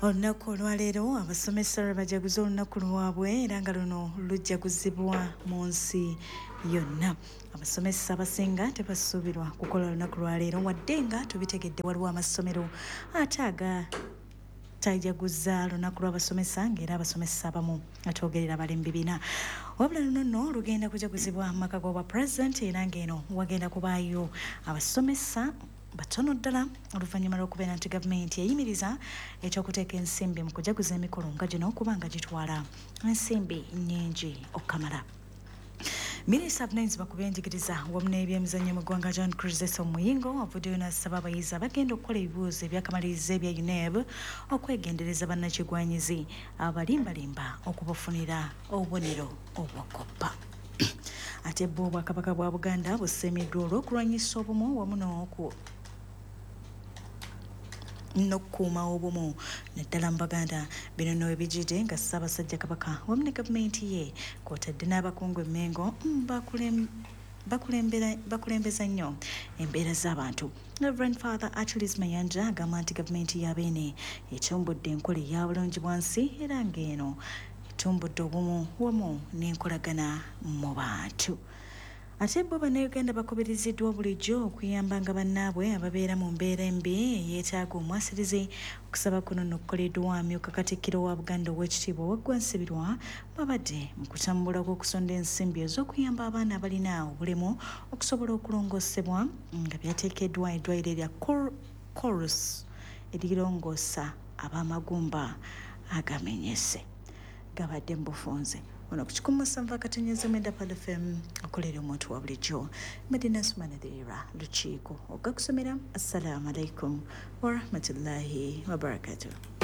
Olunaku olwaleero abasomesa lwe bajaguza olunaku lwabwe era nga luno lujaguzibwa mu nsi yonna. Abasomesa abasinga tebasuubirwa kukola olunaku lwaleero wadde nga tubitegedde waliwo amasomero ate agatajaguza lunaku lw'abasomesa ng'era abasomesa abamu atwogerera bali mu bibiina. Wabula luno nno lugenda kujaguzibwa mu maka g'obwa pulezidenti era ng'eno wagenda kubaayo abasomesa batono ddala oluvannyuma lw'okubeera nti gavumenti eyimiriza ekyokuteeka ensimbi mu kujaguza emikolo nga gino kubanga gitwala ensimbi nnyingi okukamala. Minisita avunaanyizibwa ku byenjigiriza wamu n'ebyemizannyo mu ggwanga John Chrysostom Muyingo avuddeyo n'asaba abayizi abagenda okukola ebibuuzo ebyakamaliriza ebya UNEB okwegendereza bannakigwanyizi abalimbalimba okubafunira obubonero obw'okoppa. Ate bwo Obwakabaka bwa Buganda busiimiddwa olw'okulwanyisa obumu wamu n'okukuuma obumu naddala mu Baganda. Bino nno webijjidde nga Ssaabasajja Kabaka wamu ne gavumenti ye kw'otadde n'abakungu e Mmengo bakulembeza nnyo embeera z'abantu. Reverend Father Achilles Mayanja agamba nti gavumenti ya Beene etumbudde enkola eya bulungi bwansi era ng'eno etumbudde obumu wamu n'enkolagana mu bantu. Ate bo Bannayuganda bakubiriziddwa bulijjo okuyambanga bannaabwe ababeera mu mbeera embi eyeetaaga omwasirizi. Okusaba kuno nno kukoleddwa amyuka Katikkiro wa Buganda Oweekitiibwa Waggwa Nsibirwa bw'abadde mu kutambula kw'okusonda ensimbi ez'okuyamba abaana abalina obulemu okusobola okulongoosebwa nga byateekeddwa eddwaliro erya Corus erirongoosa ab'amagumba agamenyese. Gabadde mu bufunze ono ku 107.9 Pearl FM okolera omuntu wa bulijjo. Medina Sumanadhira Lukiiko ogakusomera. Assalamu alaikum warahmatullahi wabarakatuh.